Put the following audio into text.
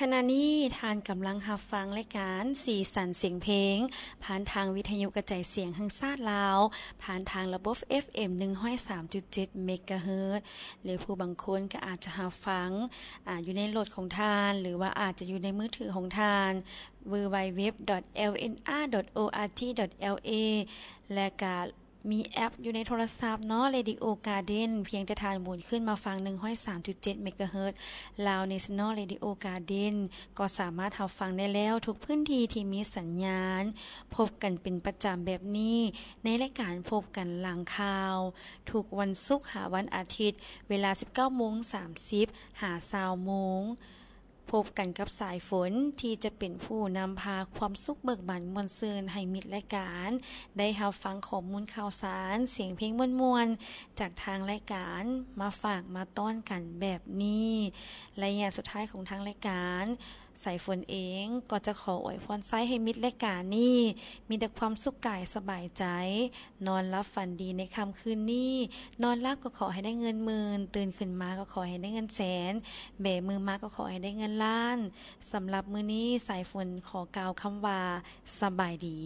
ຂະນະນີ້ທ່ານກຳລັງຮັບຟັງລາຍການສີສັນສຽງເພງ ຜ່ານທາງວິທະຍຸກະຈາຍສຽງແຫ່ງຊາດລາວ ຜ່ານທາງລະບົບ ເອັຟເອັມ ໜຶ່ງຮ້ອຍສາມຈຸດເຈັດ ເມກາເຮີດ ຫຼືຜູ້ບາງຄົນກໍອາດຈະຮັບຟັງ ອາ ຢູ່ໃນລົດຂອງທ່ານ ຫຼືວ່າອາດຈະຢູ່ໃນມືຖືຂອງທ່ານ www.lnr.org.la ແລະກະ ມີແອັບຢູ່ໃນໂທລະສັບເນາະ Radio Garden ພຽງແຕ່ທ່ານໝູນຂຶ້ນມາຟັງ ໜຶ່ງຮ້ອຍສາມຈຸດເຈັດ ເມກາເຮີດ Lao National Radio Garden ກໍສາມາດຮັບຟັງໄດ້ແລ້ວທຸກພື້ນທີ່ທີ່ມີສັນຍານ. ພົບກັນເປັນປະຈຳແບບນີ້ ໃນລາຍການພົບກັນຫຼັງຂ່າວ ທຸກວັນສຸກຫາວັນອາທິດ ເວລາ ສິບເກົ້າໂມງສາມສິບ ຫາ ຊາວໂມງ. ພົບກັນກັບສາຍຝົນ ທີ່ຈະເປັນຜູ້ນຳພາຄວາມສຸກເບີກບານມ່ວນຊື່ນໃຫ້ມິດລາຍການ ໄດ້ຮັບຟັງຂໍ້ມູນຂ່າວສານ ສຽງເພງມ່ວນໆ ຈາກທາງລາຍການ ມາຝາກມາຕ້ອນກັນແບບນີ້. ໄລຍະສຸດທ້າຍຂອງທາງລາຍການ ສາຍຝົນເອງກໍຈະຂໍອວຍພອນໄຊໃຫ້ມິດລາຍການນີ້ ມີແຕ່ຄວາມສຸກກາຍສະບາຍໃຈ. ນອນຫຼັບຝັນດີໃນຄ່ຳຄືນນີ້, ນອນຫຼັບກໍຂໍໃຫ້ໄດ້ເງິນໝື່ນ, ຕື່ນຂຶ້ນມາກໍຂໍໃຫ້ໄດ້ເງິນແສນ, ແບມືມາກໍຂໍໃຫ້ໄດ້ເງິນລ້ານ. ສຳລັບມື້ນີ້ ສາຍຝົນຂໍກ່າວຄຳວ່າ ສະບາຍດີ.